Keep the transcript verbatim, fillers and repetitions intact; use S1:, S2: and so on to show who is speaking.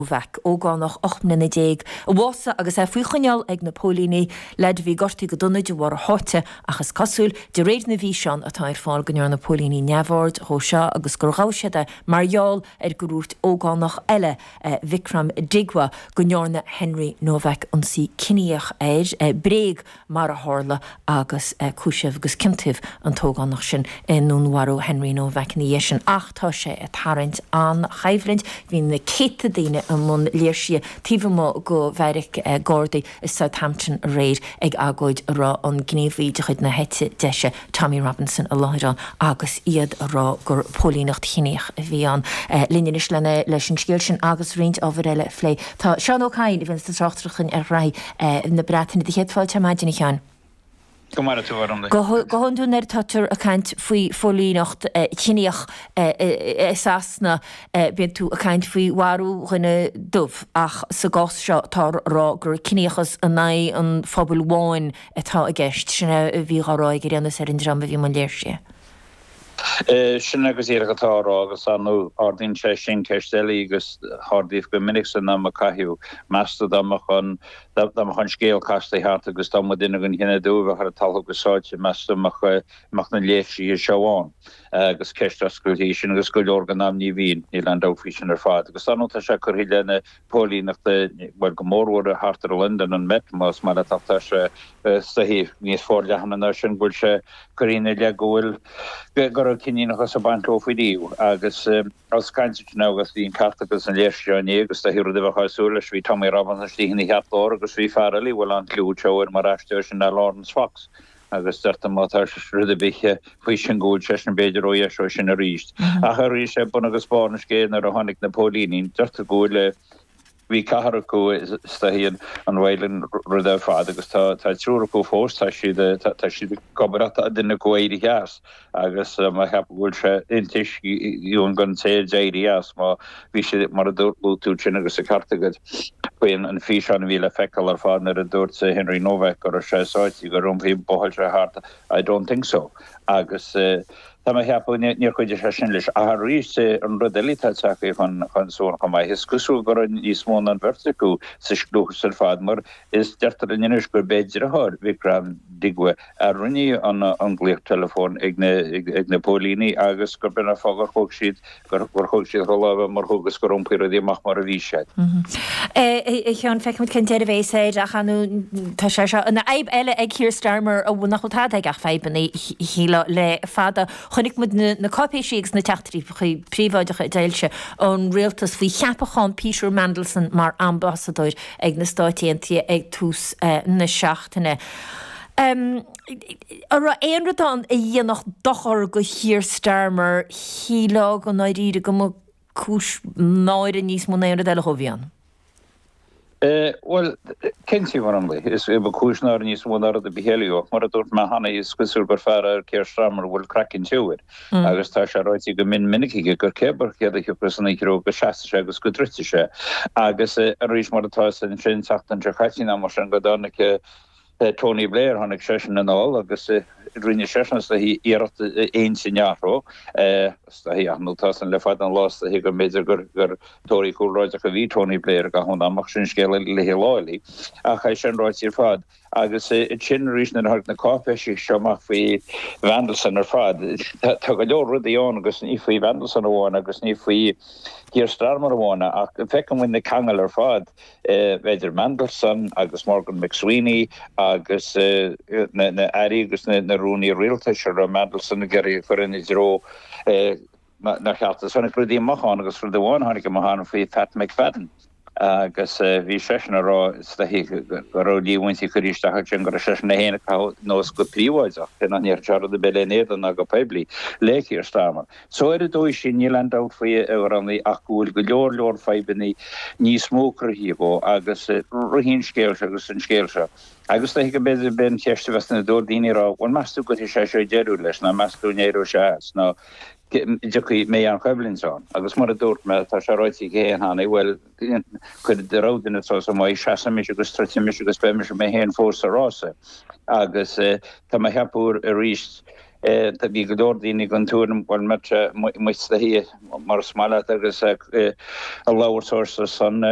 S1: Novak, ógánach ocht mbliana déag, a bhásaigh agus é faoi choinneáil ag na póilíní, leaid a bhí gortaithe go dona de bharr a sháite, ach is cosúil, de réir na bhfíseán atá ar fáil, go ndearna na póilíní neamhaird dhó seo agus gur ghabh siad é mar gheall ar gur dhúirt ógánach eile, Vikram Digwa, go ndearna Henry Novak ionsaí ciníoch air, bréag mar a tharla agus cúisíodh agus ciontaíodh an t-ógánach sin i ndúnmharú Henry Novak ina dhiaidh sin. Ach tá sé ag tarraingt an-choimhlint. Bhí na céadta daoine i mbun léirsithe taobh amuigh de bheairic Gardaí i Southampton aréir ag agóid a raibh an gníomhaí de chuid na heite deise Tommy Robinson i láthair ann agus iad a rá gur póilíneacht chiníoch a bhí ann. Linn anois lena leis an scéal sin agus roinnt ábhar eile a phlé tá Seán Ó Cadhain a bhíonn ag tráchtaireacht ar ghraithí na Breataine. Do chéad fáilte ar maidin a Sheáin.
S2: Go maire tú orm.
S1: Go hiondúil nuair atáthar ag caint faoi phóilíneacht chiníoch i Sasana bíonn tú ag caint faoi mharú dhuine dubh ach sa gcás seo táthar a rá gur ciníochas in aghaidh an phobail bháin atá i gceist. Sin é a bhí á rá ag ar aon nós ar an dream a bhí i mbun léirsithe.
S2: Sin é go díreach atá á rá agus ar ndóigh ardaíonn sé sin ceist eile agus ardaíodh go minic san am a caitheadh. Meas tú dá mbeadh an dá mbeadh an scéal casta thart agus dá mba duine den chine dubh a bheadh ar an talamh go sáite, meas tú an mbeadh mbeadh na léirsithe seo ann? Agus ceist oscailte í sin agus go leor den am ní bhíonn, níl aon dabht faoi sin ar fad. Agus ar ndóigh tá sé curtha i leith na póilíneachta, bhuel go mórmhór thart ar Londain, an Met más maith leat ach tá sé is dóichí níos forleathana ná sin go bhfuil sé curtha ina leith go bhfuil go raibh ciníochas ag baint leo faoi riamh agus ós caint ansin agus bhí an ceart acu san léirsiú inné agus is dóichí rud a bheifeá ag súil leis bhí Tommy Robinson istigh ina cheartlár agus bhí fear eile a bhfuil an-chliú anseo air mar aisteoir sin ná Laurence Fox agus deirtear má tá rud ar bith faoi sin go bhfuil seisean b'fhéidir ó dheis ó sin arís. Ach arís é bun agus barr an scéil nuair a tháinig na póilíní deirtear go bhfuil Bhí ceathrar acu is dóichí an violent rud ar fad agus tá tá triúr acu fós, tá siad tá siad ag obair ach tá duine acu éirithe as agus má cheapadh go bhfuil sé intuiscthe don té a d'éirigh as má bhí siad mar a dúirt tú sin agus an ceart agat faoi an físeán a bhí le feiceáil ar fad nuair a dúirt Henry Novak go raibh sé sáite gur iompaigh buachaill sé thart I don't think so agus Tá mé a cheapadh, níor chuidigh sé sin leis. Ach arís, an rud eile atá tagtha chun solais chomh maith, is cosúil go raibh níos mó ná an bheirt acu sa scliúchas ar fad, mar is deirtear linn anois gurb é deartháir Vikram Digwa a rinne an glaoch teileafóin ag na póilíní agus gurb in an fáth gur thóg siad gur thóg siad chun láimhe mar thug agus gur iompaigh rudaí amach mar a bhí siad.
S1: A Sheáin, feicfimid cén deireadh a bheas air ach ar ndóigh tá sé seo ina fhadhb eile ag Keir Starmer a bhfuil nach bhfuil tada aige ach fadhbanna shílfeá le fada. Chonaic muid na cáipéisí agus na teachtaireachtaí príobháideacha a d'fhoilsigh an rialtas faoi cheapachán Peter Mandelson mar ambasadóir ag na Stáit Aontaithe ag tús na seachtaine. An raibh aon rud ann a dhéanfadh dochar do Keir Starmer, shílfeá go ndáiríre go mba cúis náire níos mó ná aon rud eile dhó a bhí ann?
S2: Bhuel, cinnte, mar an is ba chúis náire níos mó ná rud ar bith eile ach mar a dúirt mé cheana, is cosúil gur fear é Keir Starmer a bhfuil craiceann tiubh air agus tá sé ráite go mion minic aige gur cé céard a thiocfas ina threo go seasfaidh sé agus go dtroidfidh sé agus arís mar atá ansin an tseachtain seo caite nó mar sin go dtáinig Tony Blair, tháinig seisean anall agus rinne seisean is dóichí iarracht intinn a athrú. Is dóichí, ach nó tá san le fada an lá is dóichí go mb'fhéidir gur gur Tóraí cúlráideach a bhí Tony Blair i gcaitheamh an ama ach sin scéal eile le lá eile. Ach é sin ráite ar fad agus ansin arís nuair a tháinig na cáipéisí seo amach faoi Mandelson ar fad, tá go leor rudaí ann agus ní faoi Mandelson amháin agus ní faoi Keir Starmer amháin ach feiceann muid na ceangail ar fad. idir Mandelson agus Morgan McSweeney agus na airí agus na rúnaí rialtais a raibh Mandelson ag iarraidh a chur ina dtreo nár cheart. Is tháinig rudaí amach ann agus rud amháin a tháinig amach ann faoi Pat McFadden agus bhí seisean ag rá is dóichí go raibh líomhaintí curtha isteach ansin go raibh seisean é féin ag caitheamh anuas go príobháideach, cé nach ndéarfadh sé rud ar bith lena éadan ná go poiblí, le Keir Starmer. So ar an dóigh sin níl aon dabht faoi a Ghráinne ach go bhfuil go leor leor fadhbanna níos mó cruthaithe dhó agus ritheann an scéal seo agus an scéal seo. Agus is dóichí go mb'fhéidir b'é an cheist a bheas ina dóibh daoine a rá bhuel meas tú gcuirfidh sé seo deireadh leis nó meas tú an éireoidh sé as nó dtiocfaidh mbeidh aon choimhlint ann. Agus mar a dúirt mé tá sé ráite aige féin cheana bhuel cuir do rogha duine suas i m'aghaidh seasfaidh mise agus troidfidh mise agus beidh mise mé féin fós sa rása. Agus tá mé a cheapadh arís Bhí go leor daoine den tuairim bhuel mbeadh sé amuigh sna hoíche mar is maith leat agus a labhairt ar son.